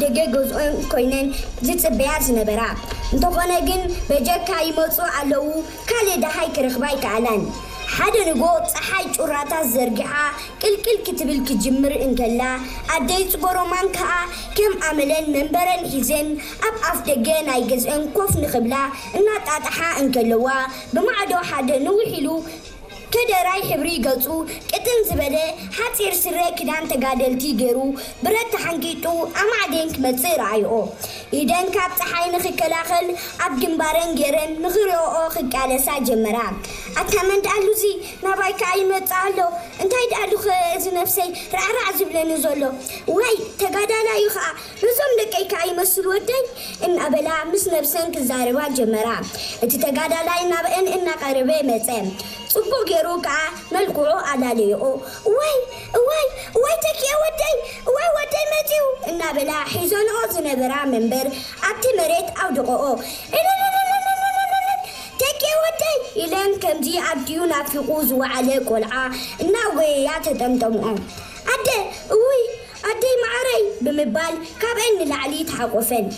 ደገ ገዝኦን ኮይነን ዝጽበያ ዝነበራ። እንተኾነ ግን በጀካ ይመጹ ኣለዉ፣ ካልእ ደሃይ ክረኽባ ኣይከኣላን። ሓደ ንጎ ጸሓይ ጩራታት ዘርጊሓ ቅልቅል ክትብል ክጅምር እንከላ፣ ኣደይ ጽጎሮማን ከኣ ከም ኣመለን መንበረን ሒዘን ኣብ ኣፍ ደገ ናይ ገዝአን ኮፍ ንኽብላ እናጣጣሓ እንከለዋ፣ ብማዕዶ ሓደ ንውሕ ኢሉ ከደራይ ሕብሪ ገጹ ቅጥን ዝበለ ሓጺር ስረ ክዳን ተጋደልቲ ገይሩ ብረት ተሓንጊጡ ኣማዕዴን ክመጽእ ረኣይኦ። ኢደን ካብ ጸሓይ ንኽከላኸል ኣብ ግንባረን ገይረን ንኽሪኦኦ ክቃለሳ ጀመራ። ኣታ መን ደኣሉዚ ናባይ ከኣ ይመጽእ ኣሎ፣ እንታይ ደኣሉኸ እዚ ነብሰይ ራዕራዕ ዝብለኒ ዘሎ? ወይ ተጋዳላዩ ኸኣ፣ ነዞም ደቀይ ከኣ ይመስሉ ወደይ እናበላ ምስ ነብሰን ክዛረባ ጀመራ። እቲ ተጋዳላይ ናብአን እናቐረበ መጸ። ጽቡቕ ገይሩ ከኣ መልክዑ ኣላለየኦ። እዋይ እዋይ እዋይ ተኪኤ ወደይ፣ እዋይ ወደይ መጺኡ እናበላ ሒዘንኦ ዝነበራ መንበር ኣብቲ መሬት ኣውድቐኦ። ተኪኤ ወደይ ኢለን ከምዚ ኣዲኡ ናፊቑ ዝወዓለ ቆልዓ እናጎየያ ተጠምጠምኦ። ኣደ እውይ ኣደይ መዓረይ ብምባል ካብአን ንላዕሊ ተሓቆፈን።